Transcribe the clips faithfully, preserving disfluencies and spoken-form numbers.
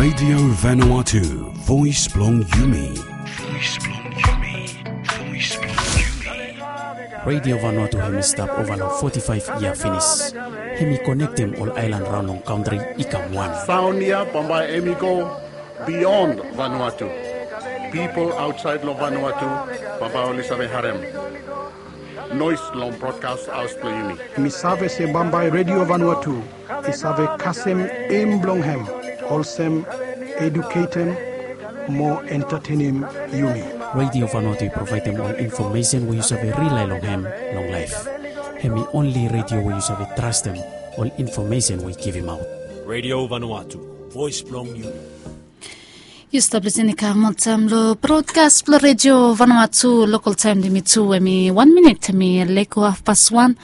Radio Vanuatu, voice blong yumi. Voice blong yumi. Voice blong yumi. Radio Vanuatu hemi stap ova long forty-five yia finis. Hemi konektem ol aelan raon long kantri i kam wan. Saon ya bambae hemi go beyond Vanuatu. People outside long Vanuatu, bambae oli save harem noes long broadcast haos blong yumi. Mi save se bambae Radio Vanuatu i save kasem em blong hem olsem eduketem mo entatenem yumi. Radio Vanuatu i provaedem ol infomesen we yu save rilae long hem long laef. Hemi onli radio we yu save trastem ol infomesen we i givimaot. Radio Vanuatu, voes blong yumi. Yu stap lisin i kam oltaem long brodkas blong Radio Vanuatu. Lokal taem blong yumi tu hemi wan minit hemi leko hafpas wan.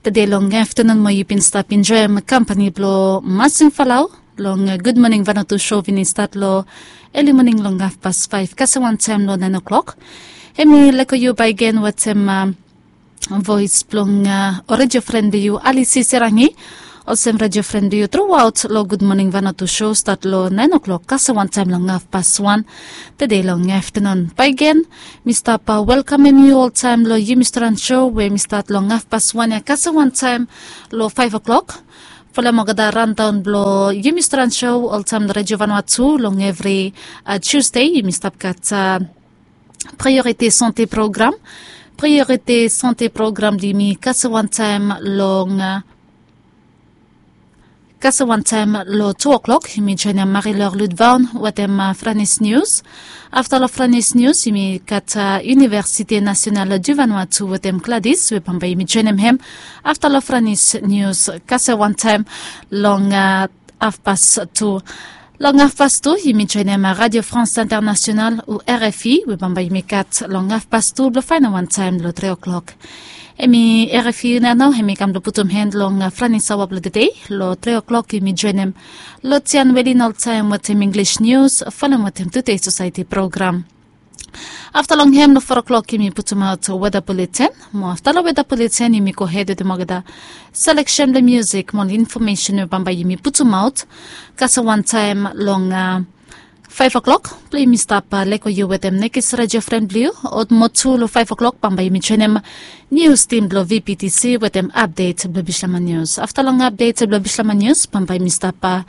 Tede long aftanun mo yu bin stap enjoem kampani blong Masing Falau long Gud Moning Vanuatu. So we bin i stat long eli moning long hafpas faef kasem wantaem long naen o'klok. Hemi leko yu bakegen wetem voes blong ol redio fren blong yu, Alisi Serangi. Olsem redio fren blong yu truaot long Gud Moning Vanuatu so stat long naen o'klok kasem wantaem long hafpas wan tede long aftanun. Bakegen mi stap welkamem yu oltaem long yumi stran so we mi stat long hafpas wan ya kasem wantaem long faef o'klok. Folem olgeta randaon blong yumi stran so oltaem long Redio Vanuatu long evri Tusde yumi stap gat Priorité Santé Program. Priorité Santé Program blong yumi kasem wantaem long kasem wantaem long tu o'klok yumi joenem Marie-Laure Ludvaon wetem Franis News. Afta long Franis News yumi gat Université Nationale du Vanuatu wetem Gladys we bambae yumi joenem hem afta long Franis News kasem wantaem long hafpas tu. Long hafpas tu yumi joenem Radio France Internationale o R F I we bambae yumi gat long hafpas tu blong faenem wantaem long tri o'klok. Hemi R F I nao hemi kam blong putum han long Franis aoa blong tede. Long tri o'klok yumi joenem Lotian Welin oltaem wetem English News folem wetem Today Society Program. Afta long hem long fo o'klok yumi putumaot weda buleten. Mo afta long weda buleten yumi gohed wetem olgeta seleksen blong musik mo ol infomesen we bambae yumi putumaot kasem wantaem long faef o'klok blong yumi stap leko yu wetem nekis redio fren blong yu. Mo tu long faef o'klok bambae yumi joenem nius tim blong V P T C wetem apdet blong Bislama Nius. Afta long apdet blong Bislama Nius bambae yumi stap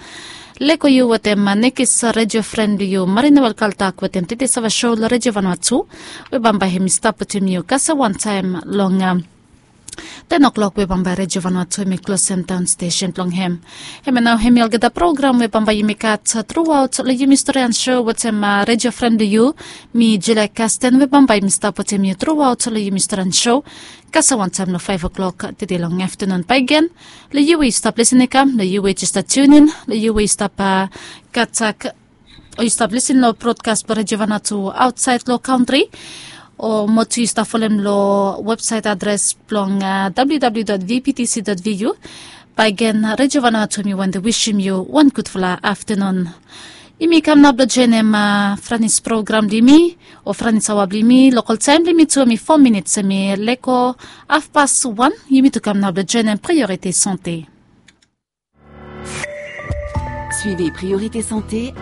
leko yu wetem nekis redio fren blong yu Marina Welkaltak wetem Tete Sava So long Redio Vanuatu we bambae hemi stap wetem yu kasem wantaem long ten o'klok we bambae Redio Vanuatu hemi klosem daon stesen blong hem. Hemia nao hemi olgeta program we bambae yumi gat truaot long yumi storian so wetem redio fren blong yu. Mi Julia Kasten we bambae yumi stap wetem yu truaot long yumi storian so kasem wantaem long faef o'klok tede long aftanun. Bakegen long yu we yu stap lisin i kam, long yu we jes stap tiunin, long yu we yu stap gat o yu stap lisin long brodkas blong Redio Vanuatu aotsaed long kantri, o mo tu yu stap folem long websaet adres blong W W W dot V P T C dot V U. Bakegen Redio Vanuatu hemi wantem wisim yu wan gudfala aftanun. Yumi kam nao blong joenem Franis program blong yumi o Franis aoa blong yumi. Lokal taem blong yumi tu hemi fo minits hemi leko hafpas wan. Yumi tu kam nao blong joenem Priorité Santé. Suivez Priorité Santé